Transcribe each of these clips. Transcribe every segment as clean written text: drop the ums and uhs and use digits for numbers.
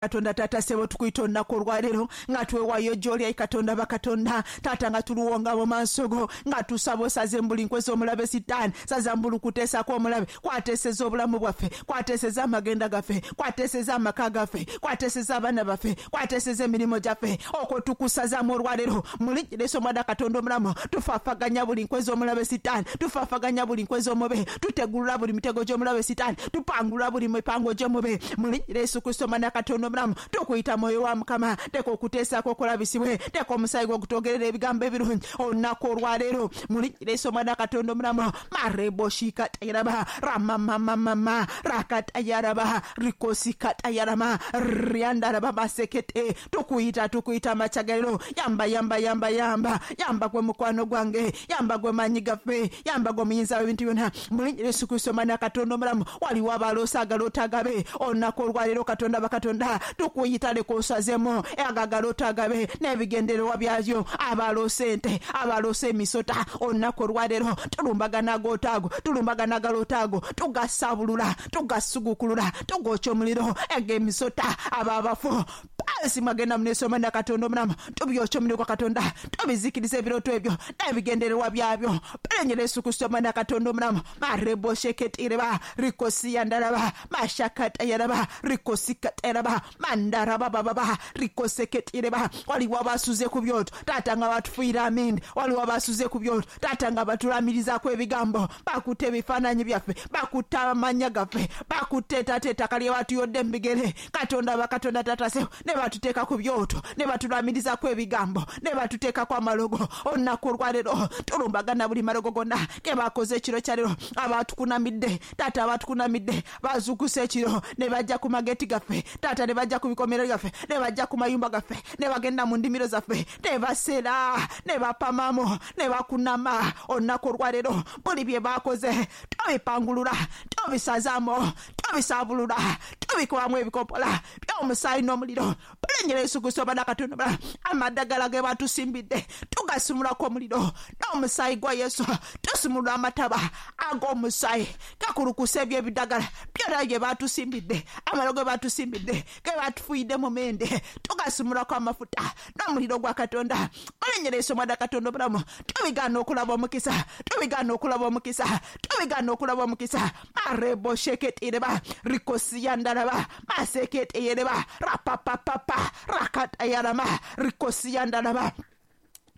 Katonda taata sebo tukuyita olunaku olwaleero nga twewaayo gy'oli ayi Katonda bakatonda taata nga tuluwonga mu maaso go nga tusaba osaze mbuli nkwe z'omulabe sitaani saza mbuli kuteesako omulabe kwateeseza obulamu bwaffe kwateeseza amagenda gaffe kwateeseza amaka gaffe kwateeseza abaana baffe kwateeseza emirimu gyaffe okwo tukusazaamu olwaleero mu linnya lya Yesu omwana Katonda omulamu tufaafaganya buli nkwe z'omulabe sitaani tufaafaganya buli nkwe z'omube tutegulula buli mitego gy'omulabe sitaani tupangulula buli mipango gy'omube mu linnya lya Yesu Kristo omwana Katonda omulamu tukuyita mwoyo wa Mukama teeka okuteesaako okulabisibwe teeka omusaayi gwo gutogerera ebigambo ebirungi olunaku olwaleero mu linnya lya Yesu omwana Katonda omulamu mareboshikatayaraba ramamamamama rakatayaraba rikosikatayarama ryandaraba masekete tukuyita tukuyita amakyagero yamba yamba yamba yamba yamba gwe mukwano gwange yamba gwe maanyi gaffe yamba gwe muyinza w'ebintu byonna mu linnya lya Yesu Kristo omwana Katonda omulamu waliwo abaloosa agaloota agabe olunaku olwaleero Katonda bakatonda tukuyita leka osazemu ago agaloota agabe n'ebigendererwa byabyo abaloosa ente abaloosa emisota olunaku olwaleero tulumbagana agoota ago tulumbagana agaloota ago tugasabulula tugasugukulula tugokya omuliro ag'emisota abo abafu pansi mwagenda muneso omwana Katonda omulamu tubyokya omuliro gwa Katonda tubizikiriza ebirooto ebyo n'ebigendererwa byabyo perenyera Yesu Kristo omwana Katonda omulamu marebosheketireba rikosiyandalaba mashakatayaraba rikosikatayaraba mandarabababa rikoseketireba waliwo abasuze ku byoto taata nga batufuira amindi waliwo abasuze ku byoto taata nga batulamirizaako ebigambo bakutte ebifaananyi byaffe bakutte amannya gaffe bakutte taata ettaka lye batuyodde mu bigere Katonda bakatonda taata sebo ne batuteeka ku byoto ne batulamirizaako ebigambo ne batuteekako amalogo olunaku olwaleero tulumbagana buli malogo gonna ge bakoze ekiro kya leero abatukunamidde taata abatukunamidde bazuukusa ekiro ne bajja ku mageti gaffe taata ne bajja ku bikomero byaffe ne bajja ku mayumba gaffe ne bagenda mu ndimiro zaffe ne basera ne bapamamu ne bakunama olunaku olwaleero buli bye bakoze tubipangulula tubisazaamu tubisabulula tubikubamu ebikopola by'omusaayi n'omuliro bulenyera Yesu Kristo omwana Katonda amaddagala ge batusimbidde tugasimulako omuliro n'omusaayi gwa Yesu tusimulula amataba ag'omusaayi gakulukusa ebyo ebiddagala byonna bye batusimbidde amalo ge batusimbidde ge batufuuyidde mu mende tugasimulako amafuta n'omuliro gwa Katonda bulenyera Yesu omwana Katonda omulamu tubigaana okulaba omukisa tubigaana okulaba omukisa tubigaana okulaba omukisa marebosheketireba rikosiyandalaba maseketeyereba rapapapapa rakatayarama rikosiyandalaba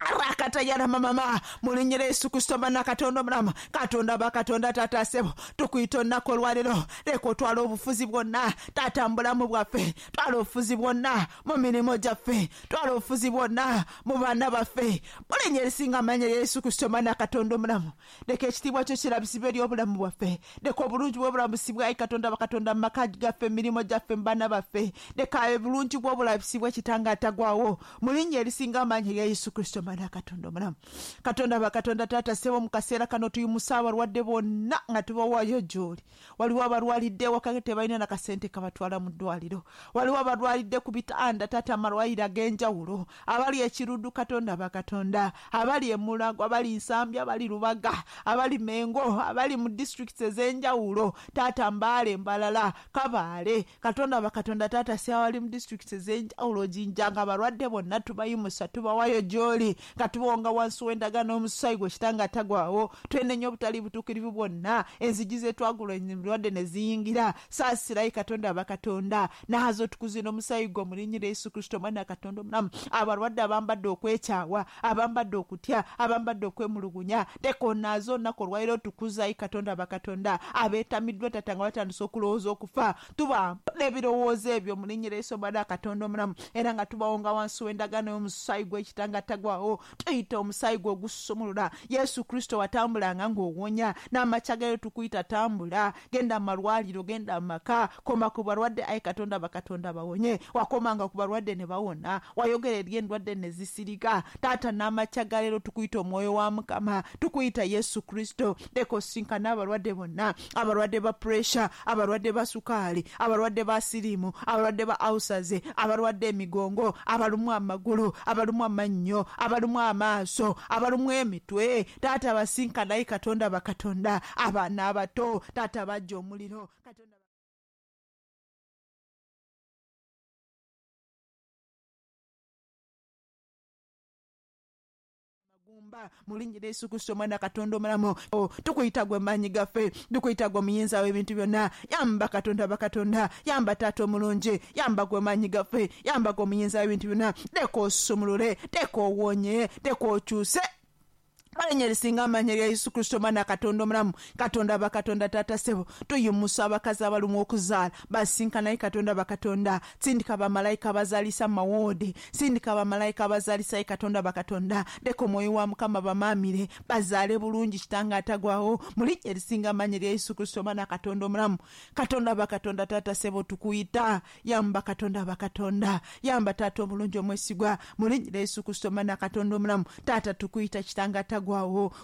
rakatayarama mama mu linnya lya Yesu Kristo omwana Katonda omulamu Katonda bakatonda taata sebo tukuyita olunaku olwaleero leka otwala obufuzi bwonna taata mu bulamu bwaffe twala obufuzi bwonna mu mirimu gyaffe twala obufuzi bwonna mu baana baffe mu linnya erisinga amaanyi erya Yesu Kristo omwana Katonda omulamu leka ekitiibwa kyo kirabisibwe eri obulamu bwaffe leka obulungi bw'obulabisibwe ayi Katonda bakatonda mu maka gaffe mu mirimu gyaffe mu baana baffe leka obulungi bw'obulabisibwe kitange atagwawo mu linnya erisinga amaanyi erya Yesu Kristo omwana Katonda omulamu Katonda bakatonda taata sebo mu kaseera kano tuyimusa abalwadde bonna nga tubawaayo gy'oli waliwo abalwalidde ewaka tebalina na kasente kabatwala mu ddwaliro waliwo abalwalidde ku bitanda taata amalwaliro ag'enjawulo abali ekirudu Katonda bakatonda abali Emulago abali Nsambya abali Lubaga abali Mengo abali mu disitulikiti ez'enjawulo taata Mbaale Mbalala Kabaale Katonda bakatonda taata si abali mu disitulikiti ez'enjawulo Jinja nga abalwadde bonna tubayimusa tubawayo gy'oli nga tubawonga wansi w'endagaano y'omusaayi gwe kitange atagwawo twenenya obutali butuukirivu bwonna enzigi zetwagula endwadde ne ziyingira saasirayi Katonda bakatonda naazo tukuze n'omusaayi gwo mu linnya lya Yesu Kristo omwana Katonda omulamu abalwadde abambadde okwekyawa abambadde okutya abambadde okwemulugunya teeka onaaze olunaku olwaleero tukuzayi Katonda bakatonda abeetamiddwa taata nga batandise okulowooza okufa tubampa n'ebirowoozo ebyo mu linnya lya Yesu omwana Katonda omulamu era nga tubawonga wansi w'endagaano y'omusaayi gw'ekitanga atagwawo tuyita omusaayi gwe ogusumulula Yesu Kristo watambulanga ng'owonya n'amakya gayo tukuyita tambula genda mu malwaliro genda mu maka koma ku balwadde ayi Katonda bakatonda bawonye wakomanga ku balwadde ne bawona wayogera eri endwadde ne zisirika taata n'amakya ga leero tukuyita omwoyo wa Mukama tukuyita Yesu Kristo leka osisinkane abalwadde bonna abalwadde ba puresha abalwadde ba sukaali abalwadde ba siriimu abalwadde ba ulcers abalwadde emigongo abalumwa amagulu abalumwa amannyo abalumwa amaaso abalumwa emitwe taata basinkanayi Katonda bakatonda abaana abato taata bajja omuliro Katonda. Gumba mu linnya lya Yesu Kristo omwana Katonda omulamu, tukuyita gwe maanyi gaffe, tukuyita gwe muyinza w'ebintu byonna. Yamba Katonda bakatonda, yamba taata omulungi, yamba gwe maanyi gaffe, yamba gwe muyinza w'ebintu byonna. Leka osumulule, leka owonye, leka okyuse. Linnya erisinga amaanyi erya Yesu Kristo omwana Katonda omulamu. Katonda bakatonda taata ssebo, tuyimusa abakazi abalumwa okuzaala basinkanaye Katonda bakatonda. Sindika bamalayika abazaalisa mu mawoodi, sindika bamalayika abazaalisa Katonda bakatonda. Leka omwoyo wa Mukama bamaamire bazaale bulungi kitange atagwawo mu linnya erisinga amaanyi erya Yesu Kristo omwana Katonda omulamu. Katonda bakatonda taata ssebo, tukuyita, yamba Katonda bakatonda, yamba taata omulungi omwesigwa mu linnya lya Yesu Kristo omwana Katonda omulamu. Taata tukuyita kitange atagwawo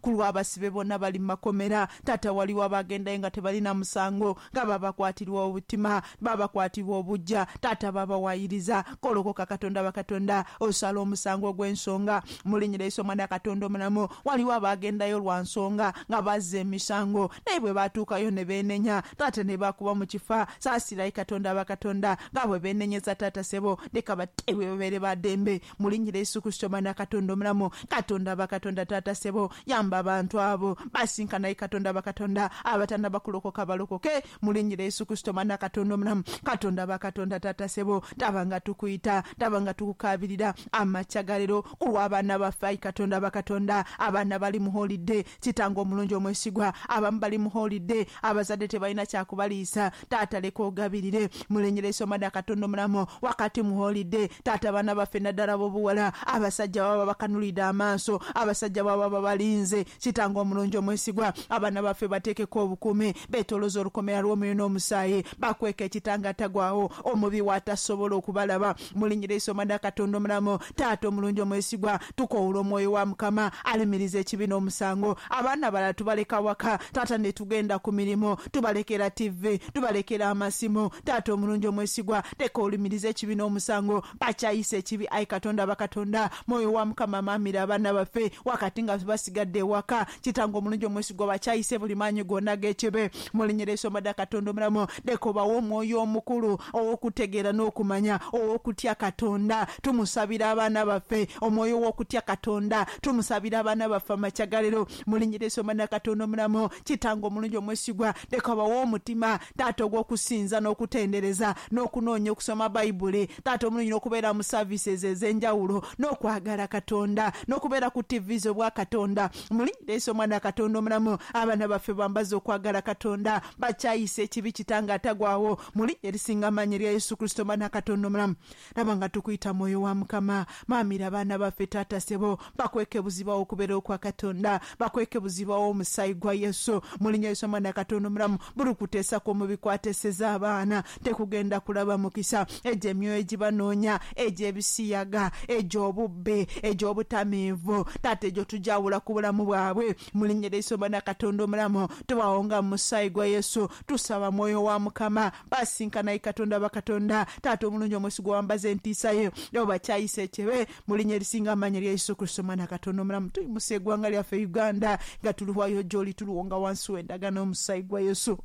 ku lw'abasibe bonna bali mu makomera. Taata waliwo abagendayo nga tebalina musango, nga babakwatirwa obutima, babakwatirwa obujja, taata babawayiriza. Kolokoka Katonda bakatonda, osala omusango ogw'ensonga mu linnya lya Yesu omwana Katonda omulamu. Waliwo abagendayo lwa nsonga nga bazza emisango, naye bwe batuukayo ne beenenya, taata ne bakuba mu kifa. Saasirayi Katonda bakatonda, nga bwe beenenyeza taata ssebo, leka bateebwe babeere ba ddembe mu linnya lya Yesu Kristo omwana Katonda omulamu. Katonda bakatonda taata ssebo, yamba abantu abo basinkanaye Katonda bakatonda, abatannaba kulokoka balokoke mu linnya lya Yesu Kristo omwana Katonda omulamu. Katonda bakatonda taata ssebo, taba nga tukuyita, taba nga tukukaabirira amakya ga leero ku lw'abaana baffe. Ayi Katonda bakatonda, abaana bali mu holiday, kitange omulungi omwesigwa, abamu bali mu holiday, abazadde tebalina kyakubaliisa. Taata leka ogabirire mu linnya lya Yesu omwana Katonda omulamu. Wakati mu holiday taata, abaana baffe naddala b'obuwala, abasajja baba bakanulidde amaaso, abasajja baba babalinze. Kitange omulungi omwesigwa, abaana baffe bateekeko obukuumi, beetolooza olukomera lw'omwoyo n'omusaayi, bakweka ekitanga atagwawo omubi w'atasobola okubalaba mu linnya lya Yesu omwana Katonda omulamu. Taata omulungi omwesigwa, tukowoola omwoyo wa Mukama alumiriza ekibi n'omusango. Abaana abalala tubaleka waka taata ne tugenda ku mirimu, tubalekera TV, tubalekera amasimu. Taata omulungi omwesigwa, leka olumiriza ekibi n'omusango, bakyayisa ekibi. Ayi Katonda bakatonda, mwoyo wa Mukama amaamira abaana baffe wakati nga basigadde ewaka. Kitange omulungi omwesigwa, bakyayise buli maanyi gonna g'ekibi mu linnya lya Yesu omwana Katonda omulamu. Leka obawe omwoyo omukulu ow'okutegeera n'okumanya, ow'okutya Katonda. Tumusabira abaana baffe omwoyo w'okutya Katonda, tumusabira abaana baffe amakya ga leero mu linnya lya Yesu omwana Katonda omulamu. Kitange omulungi omwesigwa, leka obawe omutima taata ogw'okusinza n'okutendereza n'okunoonya okusoma Bayibuli, taata omulungi, n'okubeera mu services ez'enjawulo, n'okwagala Katonda, n'okubeera ku TVs obwa Katonda mu linnya lya Yesu omwana Katonda omulamu. Abaana baffe bambaze okwagala Katonda, bakyayisa ekibi kitange atagwawo mu linnya erisinga amaanyi erya Yesu Kristo omwana Katonda omulamu. Laba nga tukuyita mwoyo wa Mukama, maamira abaana baffe taata ssebo, bakweke buzibawo okubeera okwa Katonda, bakweke buzibawo omusaayi gwa Yesu mu linnya Yesu omwana Katonda omulamu. Buli kuteesa kw'omubi kwateeseza abaana tekugenda kulaba mukisa. Egyo emyoyo egibanoonya, egy'ebisiyaga, egy'obubbi, egy'obutamiivu, taata egyo tujawula ku bulamu bwabwe mu linnya lya Yesu omwana Katonda omulamu. Tubawonga mu musaayi gwa Yesu, tusaba mwoyo wa Mukama basinkanaye Katonda bakatonda. Taata omulungi omwesigwa, wambaza entiisa ye oba bakyayisa ekibe mu linnya erisinga amaanyi erya Yesu Kristo omwana Katonda omulamu. Tuyimusa eggwanga lyaffe Uganda nga tuluwayo gy'oli, tuluwonga wansi w'endagaano y'omusaayi gwa Yesu.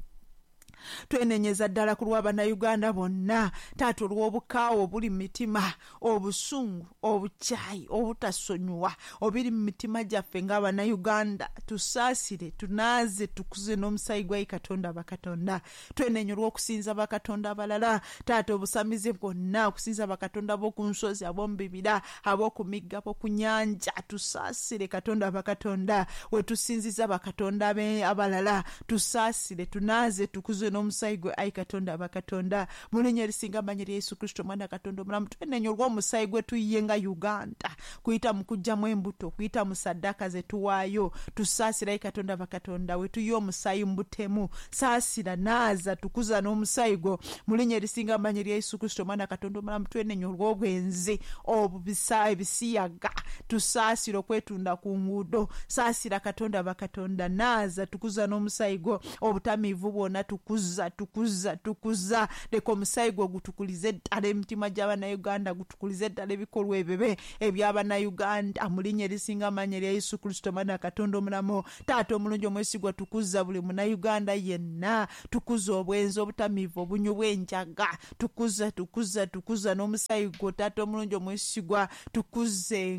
Twenenyeza ddala ku lw'Abannayuganda bonna taata, olw'obukaawa obuli mu mitima, obusungu, obukyayi, obutasonyiwa obiri mu mitima gyaffe ng'Abannayuganda. Tusaasire, tunaaze, tukuze n'omusaayi gwa Katonda bakatonda. Twenenya olw'okusinza bakatonda abalala taata, obusamize bwonna, okusinza bakatonda ab'oku nsozi, ab'omu bibira, ab'oku migga, ab'oku nnyanja. Tusaasire Katonda bakatonda, we tusinziza bakatonda abalala. Tusaasire, tunaaze, tukuze n'omusaayi gwe ayi Katonda bakatonda mu linnya erisinga amaanyi erya Yesu Kristo omwana Katonda omulamu. Twenenya olw'omusaayi gwe tuyiye nga Uganda kuyita mu kuggyamu embuto, kuyita mu saddaaka ze tuwaayo. Tusaasire ayi Katonda bakatonda, we tuyiye omusaayi mu butemu. Saasira, naaza, tukuza n'omusaayi gwo mu linnya erisinga amaanyi erya Yesu Kristo omwana Katonda omulamu. Twenenya olw'obwenzi, obubisa, ebisiyaga. Tusaasire okwetunda ku nguudo. Saasira Katonda bakatonda, naaza, tukuza n'omusaayi gwo obutamiivu bwonna, tukuze. Tukuza, tukuza, tukuza. Leka omusaayi gwo gutukulize ddala emitima gy'Abannayuganda, gutukulize ddala ebikolwa ebibi eby'Abannayuganda, mu linnya erisinga amaanyi erya Yesu Kristo, Omwana wa Katonda omulamu. Taata omulungi omwesigwa, tukuza buli Munnayuganda yenna. Tukuza obwenzi, obutamiivu, obunywi bw'enjaga. Tukuza, tukuza, tukuza n'omusaayi gwo, Taata omulungi omwesigwa. Tukuze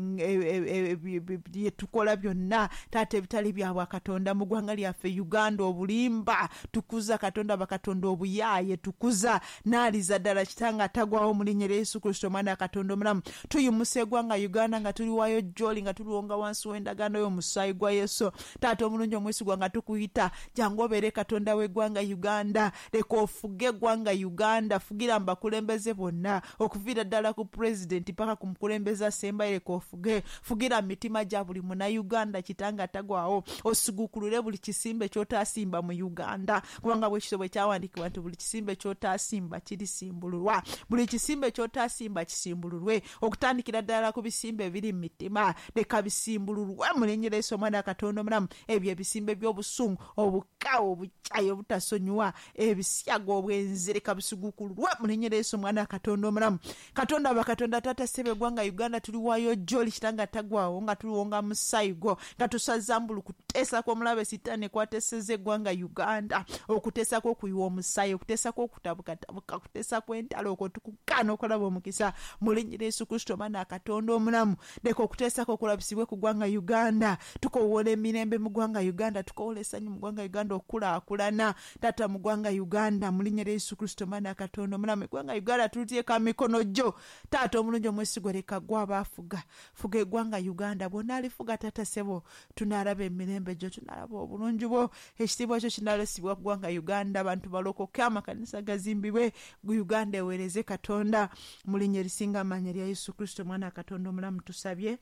bye tukola byonna, Taata, ebitali bya bwakatonda mu ggwanga lyaffe Uganda. Obulimba tukuza, Katonda bakatonda. Obuyaaye tukuza. Naaliza ddala, Kitanga atagwawo, mu linnya erya Yesu Kristo, Omwana wa Katonda omulamu. Tuyimusa eggwanga Uganda nga tuliwayo gy'oli, nga tuliwonga wansi w'endagaano y'omusaayi gwa Yesu. Taata omulungi omwesigwa, nga tukuyita, jangu obeere Katonda w'eggwanga Uganda. Leka ofuge eggwanga Uganda. Fugira mu bakulembeze bonna, okuviira ddala ku pulezidenti paka ku mukulembeze asembayo. Leka ofuge. Fugira mu mitima gya buli Munnayuganda, Kitanga atagwawo. Osiguukulule buli kisimbe ky'otaasimba mu Uganda, kubanga bwe kityo bwe kyawandiikibwa nti buli kisimbe ky'otaasimba kirisimbululwa. Buli kisimbe ky'otaasimba kisimbululwe, okutandikira ddala ku bisimbe ebiri mu mitima. Leka bisimbululwe mu linnya lya Yesu, Omwana wa Katonda omulamu. Ebyo ebisimbe by'obusungu, obukawo, obukyayi, obutasonyiwa, ebisyaga, obwenzi, leka bisiguukululwe mu linnya lya Yesu, Omwana wa Katonda omulamu. Katonda bakatonda, Taata ssebo, eggwanga Uganda tuliwaayo gy'oli, Kitanga atagwawo, nga tuliwonga musaayi gwo, nga tusaza mbulu kuteesa kw'omulabe Sitaani kwateesezza eggwanga Uganda, okuteesa kw'okuyiwa omusaayi, okuteesa kw'okutabukatabuka, okuteesa kw'entalo. Okwo tukugaana okulaba omukisa mu linnya lya Yesu Kristo, Omwana wa Katonda omulamu. Leka okuteesako okulabisibwe ku ggwanga Uganda. Tukowoola emirembe mu ggwanga Uganda, tukowoola essanyu mu ggwanga Uganda, okukulaakulana, Taata, mu ggwanga Uganda, mu linnya lya Yesu Kristo, Omwana wa Katonda omulamu. Eggwanga Uganda tuliteeka mu mikono gyo, Taata omulungi omwesigwa. Leka gwe abaafuga. Fuga eggwanga Uganda. Bw'onaalifuga, Taata ssebo, tunaalaba emirembe gyo, tunaalaba obulungi bwo, ekitiibwa kyo kinaalesibwa ku ggwanga Uganda. Abantu balokoke, amakanisa gazimbibwe, Uganda eweereze Katonda. Mu linnya erisinga amaanyi erya Yesu Kristo, Omwana wa Katonda omulamu, tusabye.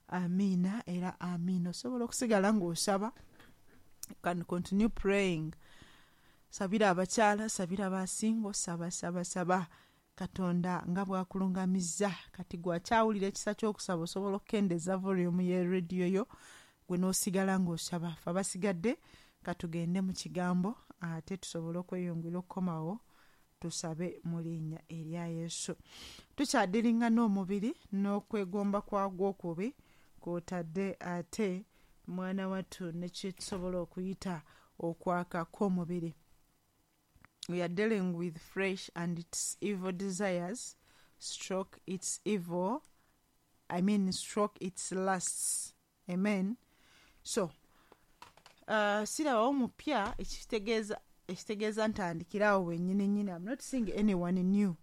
Amiina era amiina. Osobola okusigala ng'osaba. You can continue praying. Sabira abakyala, sabira basingo, saba, saba, saba Katonda nga bwakulungamizza. Kati gwakyawulira ekisa ky'okusaba, osobola okukendeeza volume ye rediyo yo, gwe n'osigala ng'osaba. Fe abasigadde katugende mu kigambo, ate tusobole okweyongera okukomawo tusabe mu linnya erya Yesu. Tukyadiringa n'omubiri n'okwegomba kwagwo okubi, kwotadde ate, mwana wattu, ne kyetusobola okuyita okwaka kw'omubiri. We are dealing with flesh and its evil desires stroke its evil, I mean, stroke its lusts. Amen. So sirabawo mupya, ekitegeeza ekitegeeza ntandikirawo wennyini nnyini. I'm not seeing anyone new.